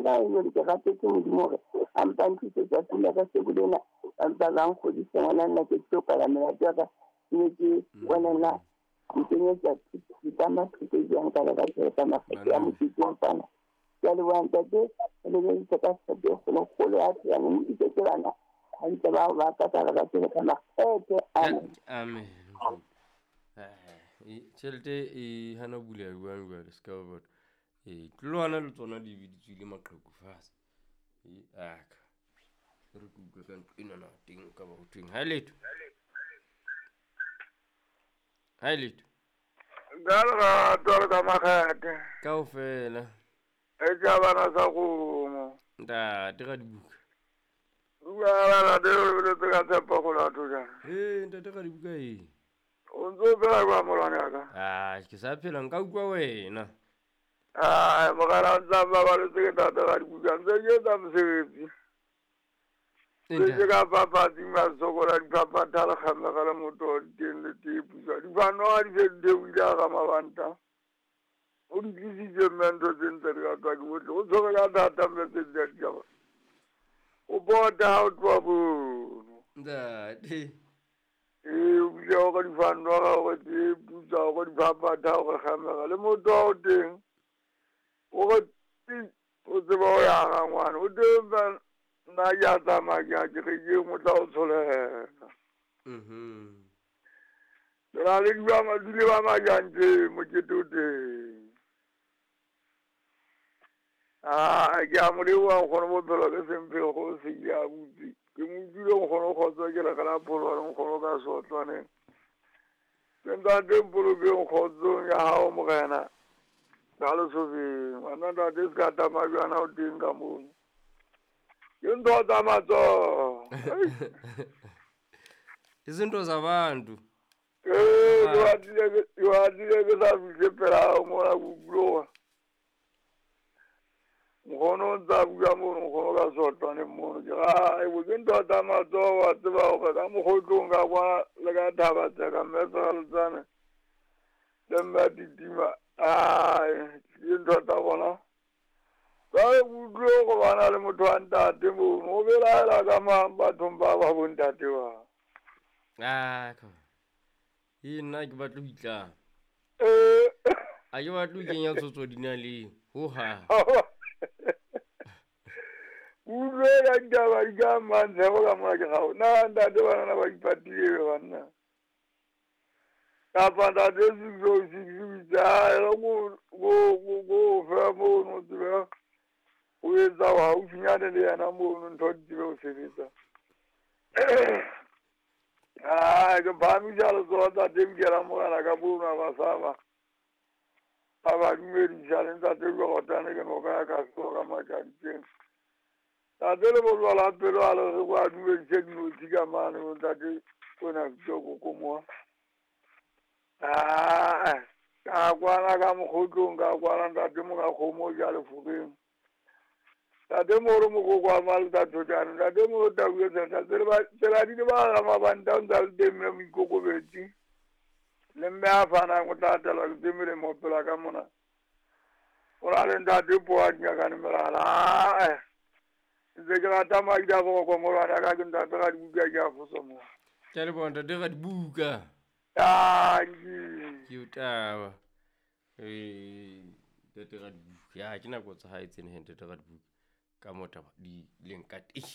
Nna jwale ke rapetse Modimo hore a mpa nthuse tsatsing la kasheko lena, ba mpa ba nkgodisa ngwana nna ke tlo kwala melato ya ka. Ke be ke bona na nkenyetsa ditlama thuto jwang ka lerato ka makgethe a mokete wa tsana. Ke a leboha ntate, re lebedisa ka tshepo e kgolokgolo ya phelang o isetse bana hantle bao ba ka ka lerato le ka makgethe. Amen. Amen. Tjhelete e hana buleha jwang jwale se ka ba batho. Ee, tlolwana le tsona di be di tswile maqheku fatshe. Ee, aka. Re ke utlwe ka ntlo enana teng ka ba ho thweng. Ha letho. Ha letho. Ka lerato le ka makgethe. Kaofela. E tša bana sa kgomo. Ntate ga dibuka. Buka ya bana te o lebeletse ka tshepo go la thojana. Ee, ntate ga dibuka ee. O ntse o phela jwang molwane ya ka? Ah, ke sa phela nka utlwa wena. Ai, mogala o ntse a mbabaletse ke ntate ga dibuka ntse ke etsa mosebetsi. Ke ke ka fafatsing ba sokola diphaphatha le kgamega le moto diteng le tee pusa. Difanoga di se di theohile a ga mabanta. O di tlisitse mme ntho tse ntle di ratwa ke bohle. O tshwere ka thata mme tse di a ditaba. O bota ha o tloha mono. Ntate. Ee, o bile gore difanoga gore tee pusa gore diphaphatha gore kgamega le moto o teng. Gore ti o tseba o ya ga ngwana. O teng ba nna ke a tsamaya ke ya kerekeng o tla o tsholela. Re na le dule ba majantse mokete o teng. Ah, ke a mo leboha nkgono bophelo ke semphego go se ke a butse. Ke mo utlwile nkgono kgotso ke re ga la pholo le nkgono ka sotlwaneng. Ke ntate mpolokeng kgotsong ya hao morena. Ka lesobeng. Ngwana ntate se ka tama jwana o teng ka mono. Ke ntho tsa matsoho. Izinto zabantu. Ee, ke batlile ke sa fihle pela hao mona ke utlwa. Nkgono o ntse a bua mono, nkgono ka sotlwaneng mono. Ke ra, bo ke ntho tsa matsoho wa tseba hore ka mokgotlong ka kwa le ka thaba tseka mme Seraletsane le mme Titima. Ai, ke ntho tsa bona. Jwale ke utlwile hore ba na le motho wa ntate mono. O belaela ka mang bathong ba ba bo ntate ba? Ah, ee, nna ke batle ho itlama. Ee. A ke batle ho kenya tsotso dinaleng. Hohang. Utlwe ka ditaba di ka mang tshepo ka mona ke gao. Na ntate banana ba ipatile be banna. Kapa ntate 606 o itse, "Ai, re go fe mono o tsebe o etsa haufinyane le yena mono ntho di tsebe ho sebetsa." Ai, ke phahamisa letsoho ntate Mokela morena ka mono a ba saba. A ba dumedisa le ntate Jordan ke noka ya ka sehlooho ka matjantjeng. Ntate le bolwa la pelo a le re kwa dumedise dinotshi ka mane bo ntate ona bitso kokomoa. Ah, ka kwana ka mokgotlong ka kwana ntate monga kgomo o ja lefokeng. Ntate moro mokoko wa malta thotjane, ntate moro tau e tshehla, tsela di le ba ga mabanta o ntse a le teng mme moikokobetsi. Le mme a fanang o tla atelwa ke tse melemo pela ka mona. O na le ntate Poa Dingakane Melala. Ae, ntse ke rata madi a boroko molwane ya ka ke ntate ga dibuka ke a foso mo. Ke a leboha ntate ga dibuka. Tanki. Ke o taba. Ee, ntate ga dibuka. Ya ke nako tsa hae tsena he ntate ga dibuka. Ka mo taba di leng ka teng.